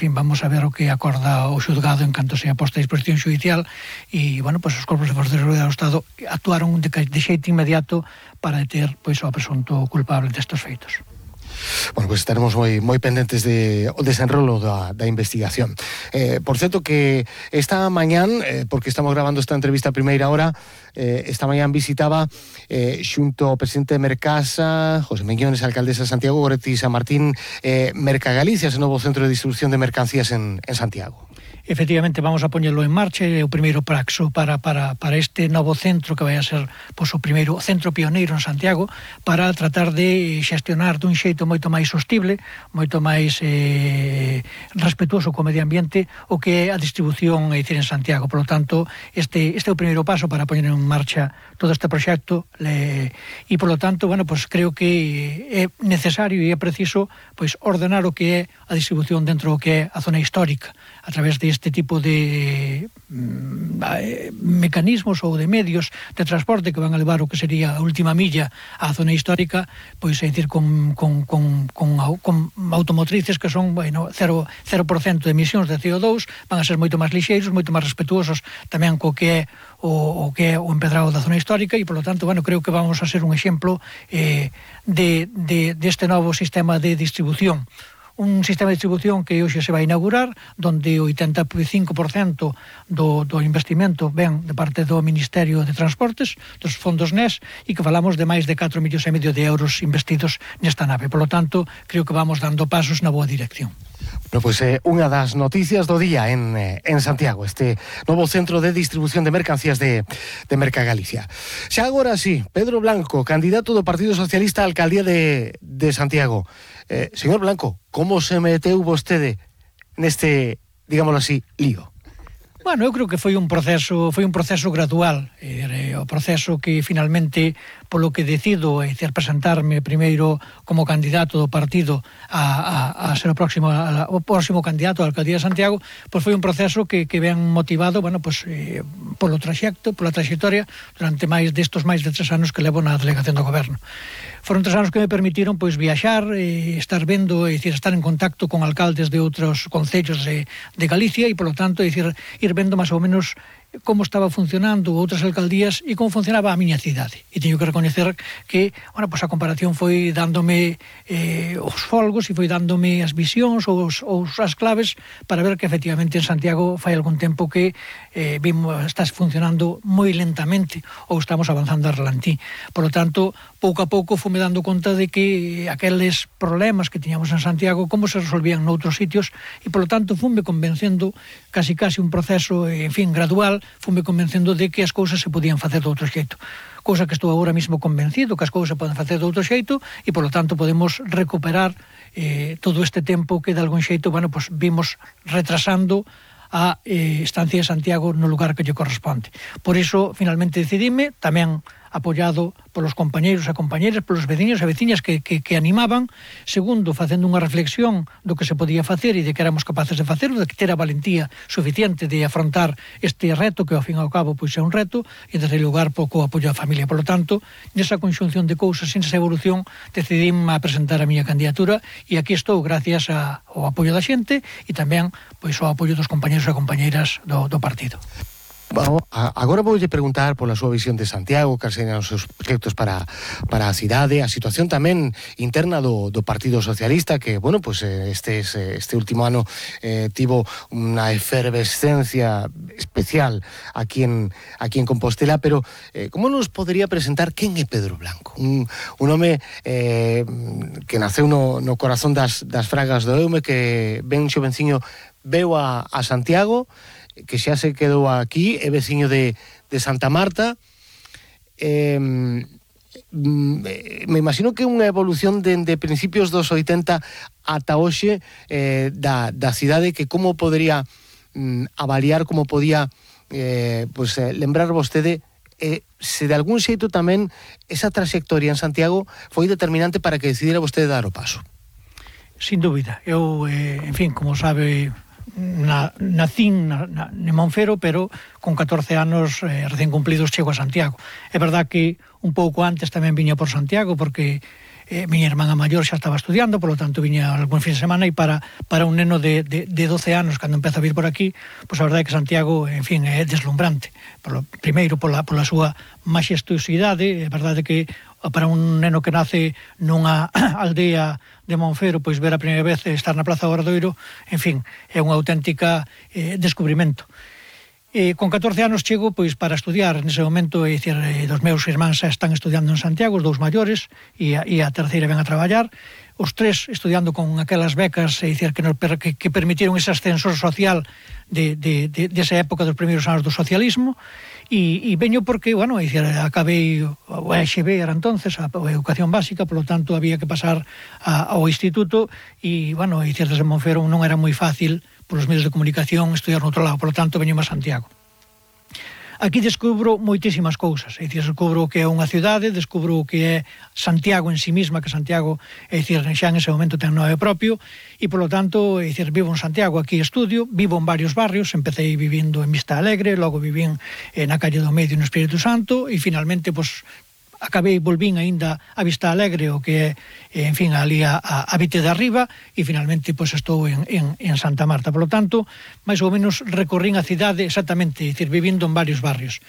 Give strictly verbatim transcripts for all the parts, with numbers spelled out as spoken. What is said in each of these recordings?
fin, vamos a ver o que acorda o xudgado en canto sea posta a disposición xudicial e, bueno, pois os corpos de forza de seguridade do Estado actuaron de, de xeito inmediato para deter, pois, o presunto culpable destes feitos. Bueno, pois pues estaremos moi moi pendentes de o desenrolo da, da investigación. Eh, por certo que esta mañán, eh, porque estamos grabando esta entrevista a primeira hora, eh, esta mañán visitaba eh, xunto ao presidente de Mercasa, José Meñones, alcaldesa de Santiago, Goretti San Martín, eh, Mercagalicia, ese novo centro de distribución de mercancías en, en Santiago. Efectivamente, vamos a poñelo en marcha, é o primeiro praxo para, para, para este novo centro que vai a ser, pois, o primeiro centro pioneiro en Santiago, para tratar de xestionar dun xeito moito máis sostible, moito máis eh, respetuoso co medio ambiente o que é a distribución e dicir en Santiago. Por lo tanto, este, este é o primeiro paso para poñer en marcha todo este proxecto le, e, por lo tanto, bueno, pues creo que é necesario e é preciso, pois, ordenar o que é a distribución dentro do que é a zona histórica, a través deste tipo de mm, mecanismos ou de medios de transporte que van a levar o que sería a última milla á zona histórica, pois é dicir, con, con, con, con, con automotrices que son, bueno, cero por cento de emisións de C O dous, van a ser moito máis lixeiros, moito máis respetuosos tamén co que é o, o que é o empedrado da zona histórica e, por lo tanto, bueno, creo que vamos a ser un exemplo eh, de, de, deste novo sistema de distribución. Un sistema de distribución que hoxe se vai inaugurar, donde o oitenta e cinco por cento do, do investimento ven de parte do Ministerio de Transportes, dos fondos N E S, e que falamos de máis de catro millóns e medio de euros investidos nesta nave. Por lo tanto, creo que vamos dando pasos na boa dirección. Bueno, pois é eh, unha das noticias do día en, eh, en Santiago, este novo centro de distribución de mercancías de, de Mercagalicia. Xa agora sí, Pedro Blanco, candidato do Partido Socialista á alcaldía de, de Santiago. Eh, señor Blanco, como se meteu vostede neste, digámoslo así, lío? Bueno, eu creo que foi un proceso foi un proceso gradual, eh, o proceso que finalmente, polo que decido, é dicir, presentarme primeiro como candidato do partido a, a, a ser o próximo a, o próximo candidato á alcaldía de Santiago, pois foi un proceso que, que ven motivado, bueno, pois eh, polo traxecto, pola traxectoria durante máis destos máis de tres anos que levo na delegación do goberno. Foron tres anos que me permitiron, pois, viaxar, eh, estar vendo, é dicir, estar en contacto con alcaldes de outros concellos de, de Galicia e, polo tanto, é dicir, ir vendo máis ou menos como estaba funcionando outras alcaldías e como funcionaba a miña cidade. E teño que recoñecer que, bueno, pues a comparación foi dándome eh, os folgos e foi dándome as visións ou, os, ou as claves para ver que efectivamente en Santiago fai algún tempo que eh, vimos, está funcionando moi lentamente ou estamos avanzando a relantí. Por lo tanto, pouco a pouco fume dando conta de que aqueles problemas que tiñamos en Santiago, como se resolvían noutros sitios, e por lo tanto fume convencendo casi casi un proceso, en fin, gradual, fume convencendo de que as cousas se podían facer de outro xeito. Cousa que estou agora mesmo convencido que as cousas se poden facer de outro xeito e, por lo tanto, podemos recuperar eh, todo este tempo que, de algún xeito, bueno, pues, vimos retrasando a eh, estancia de Santiago no lugar que lle corresponde. Por iso, finalmente, decidime, tamén apoiado polos compañeiros e compañeras, polos veciños e veciñas que, que, que animaban. Segundo, facendo unha reflexión do que se podía facer e de que éramos capaces de facer, de que ter a valentía suficiente de afrontar este reto, que ao fin e ao cabo pois é un reto, e desde lugar pouco apoio á familia. Por lo tanto, nesa conxunción de cousas, nesa evolución, decidí a presentar a miña candidatura e aquí estou gracias a, ao apoio da xente e tamén pois ao apoio dos compañeros e compañeiras do, do partido. Bueno, agora voulle preguntar pola súa visión de Santiago, cales serían os seus proxectos para, para a cidade, a situación tamén interna do, do Partido Socialista, que, bueno, pues este, este último ano eh, tivo unha efervescencia especial aquí en, aquí en Compostela, pero eh, como nos podería presentar quen é Pedro Blanco? Un, un home eh, que naceu no, no corazón das, das fragas do Eume, que ben xovenciño veu a, a Santiago, que xa se quedou aquí, é veciño de, de Santa Marta. Eh, me imagino que unha evolución dende de principios dos oitenta ata hoxe eh, da, da cidade, que como podería mm, avaliar, como podía eh, pues, eh, lembrar vostede eh, se de algún xeito tamén esa trayectoria en Santiago foi determinante para que decidira vostede dar o paso. Sin dúbida. Eu, eh, en fin, como sabe, Na, nacín na, na, en Monfero, pero con catorce anos eh, recén cumplidos chego a Santiago. É verdad que un pouco antes tamén viña por Santiago, porque eh, miña irmán a maior xa estaba estudiando, polo tanto viña algún fin de semana, e para, para un neno de, de, de doce anos, cando empeza a vir por aquí, pois a verdade é que Santiago, en fin, é deslumbrante. Polo, primeiro, pola, pola súa maxestuosidade, é verdade que para un neno que nace nunha aldea de Monfero, pois ver a primeira vez estar na Praza do Obradoiro, en fin, é unha auténtica eh, descubrimento. E con catorce anos chego pois para estudiar nese momento, é dicir, dos meus irmáns xa están estudiando en Santiago, os dous maiores, e a, e a terceira ven a traballar, os tres estudiando con aquelas becas, é dicir, que, nos, que, que permitiron ese ascensor social de, de, de, de esa época dos primeiros anos do socialismo, e, e veño porque, bueno, é dicir, acabei o E X B, era entonces, a, a educación básica, polo tanto había que pasar a, ao instituto, e, bueno, é dicir, desde Monfero non era moi fácil polos medios de comunicación estudiar no outro lado, polo tanto veño a Santiago. Aquí descubro moitísimas cousas, é dicir, descubro o que é unha cidade, descubro o que é Santiago en sí misma, que Santiago, é dicir, xa en ese momento ten nome propio, e polo tanto, é dicir, vivo en Santiago, aquí estudio, vivo en varios barrios, empecé vivindo en Vista Alegre, logo vivín na calle do Medio no Espírito Santo, e finalmente, pois, acabei, volvín aínda a Vista Alegre, o que é, en fin, ali a, a, a Vite de Arriba, e finalmente, pois, estou en, en, en Santa Marta. Por lo tanto, máis ou menos recorrín a cidade exactamente, é dicir, vivindo en varios barrios.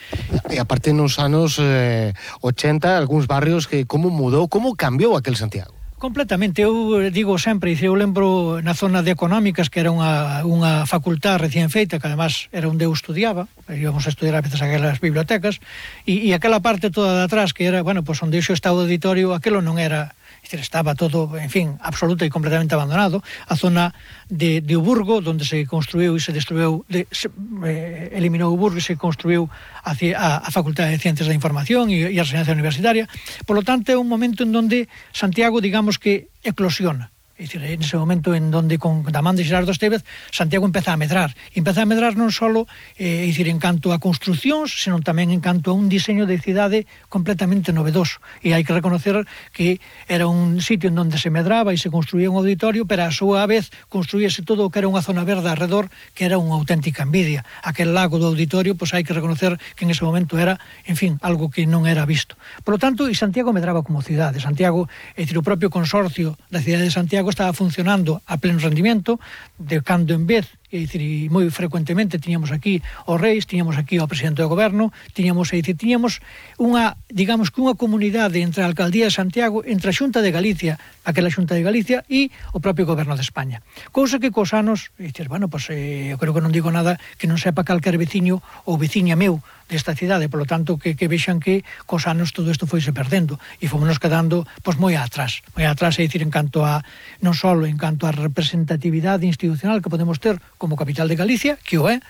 E aparte nos anos eh, ochenta, algúns barrios que como mudou, como cambiou aquel Santiago? Completamente, eu digo sempre, eu lembro na zona de Económicas, que era unha, unha facultad recién feita, que además era onde eu estudiaba, íbamos a estudiar a veces aquelas bibliotecas, e, e aquela parte toda de atrás, que era, bueno, pois pues, onde xo estaba o auditorio, aquelo non era, estaba todo, en fin, absoluto e completamente abandonado. A zona de, de Uburgo, onde se construiu e se destruiu, de, se, eh, eliminou Uburgo e se construiu a, a, a Facultade de Ciencias da Información e, e a Residencia Universitaria. Por lo tanto, é un momento en donde Santiago, digamos que eclosiona. É dicir, en ese momento en donde con da man de Xerardo Estévez Santiago empeza a medrar, empeza a medrar non só eh, dicir, en canto a construcións, senón tamén en canto a un diseño de cidade completamente novedoso, e hai que reconocer que era un sitio en donde se medraba e se construía un auditorio, pero a súa vez construíase todo o que era unha zona verde alrededor, que era unha auténtica envidia. Aquel lago do auditorio, pois hai que reconocer que en ese momento era, en fin, algo que non era visto. Por lo tanto, e Santiago medraba como cidade. Santiago, é dicir, o propio consorcio da cidade de Santiago estaba funcionando a pleno rendimento, de cando en vez, é dicir, e moi frecuentemente tiñamos aquí os reis, tiñamos aquí o presidente do goberno, tiñamos, é dicir, tiñamos unha, digamos que unha comunidade entre a Alcaldía de Santiago, entre a Xunta de Galicia, aquela Xunta de Galicia, e o propio goberno de España. Cousa que cos anos, é dicir, bueno, pois, eh, eu creo que non digo nada que non sepa calquer veciño ou veciña meu desta cidade, polo tanto, que, que vexan que cos anos todo isto foise perdendo e fomos quedando, pois, moi atrás, moi atrás, é dicir, en canto a, non só en canto a representatividade institucional que podemos ter como capital de Galicia, que o é,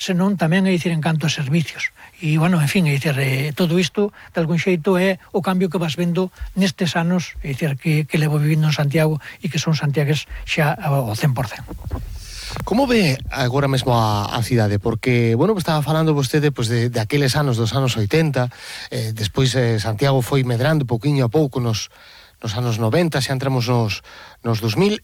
senón tamén, é dicir, en canto a servicios. E, bueno, en fin, é dicir, eh, todo isto, de algún xeito, é o cambio que vas vendo nestes anos, é dicir, que, que levo vivindo en Santiago e que son santiagues xa ao cen por cen. Como ve agora mesmo a, a cidade? Porque, bueno, estaba falando vostede pues, de, de aqueles anos dos anos oitenta, eh, despois eh, Santiago foi medrando pouquiño a pouco nos, nos anos noventa, xa entramos nos, nos dos mil,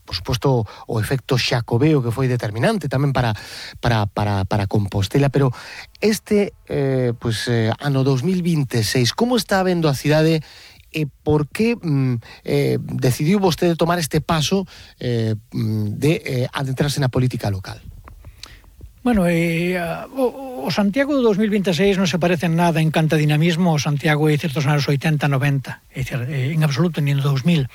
por suposto o efecto xacobeo que foi determinante tamén para, para, para, para Compostela, pero este eh, pues, eh, ano dos mil veintiséis, como está vendo a cidade e por que mm, eh, decidiu vostede tomar este paso eh, de eh, adentrarse na política local? Bueno, eh, o, o Santiago do dos mil veintiséis non se parece en nada en canto a dinamismo ao Santiago de certos anos oitenta, noventa, é dicir, en absoluto, ni no dos mil.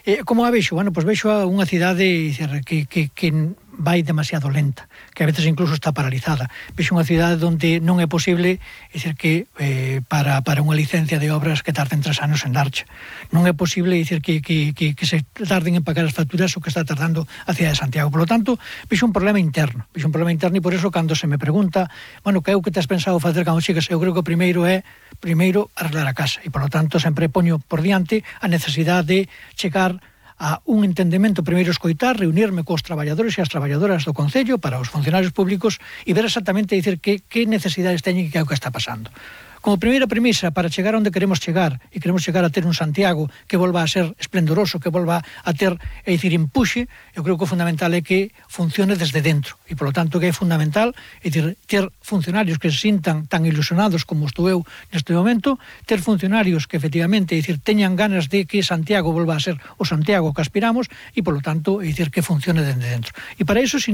Eh, como a vexo? Bueno, pois vexo a unha cidade dicir, que, que, que vai demasiado lenta, que a veces incluso está paralizada. Vexo unha cidade onde non é posible, é dicir, que eh, para, para unha licencia de obras que tarden tres anos en darche. Non é posible, é dicir, que, que, que, que se tarden en pagar as facturas o que está tardando a cidade de Santiago. Por lo tanto, vexo un problema interno. Vexo un problema interno e por eso, cando se me pregunta, bueno, que é o que te has pensado facer cando chegas, eu creo que o primeiro é primeiro arreglar a casa. E, por lo tanto, sempre poño por diante a necesidade de chegar a un entendemento, primeiro escoitar, reunirme cos traballadores e as traballadoras do Concello para os funcionarios públicos e ver exactamente, dicir, que, que necesidades teñen e que é o que está pasando. como primeira premisa para chegar onde queremos chegar, e queremos chegar a ter un Santiago que volva a ser esplendoroso, que volva a ter, é dicir, empuxe, eu creo que o fundamental é que funcione desde dentro, e polo tanto que é fundamental, é dicir, ter funcionarios que se sintan tan ilusionados como estou eu neste momento, ter funcionarios que efectivamente, é dicir, teñan ganas de que Santiago volva a ser o Santiago que aspiramos, e polo tanto, é dicir, que funcione desde dentro. E para iso, sin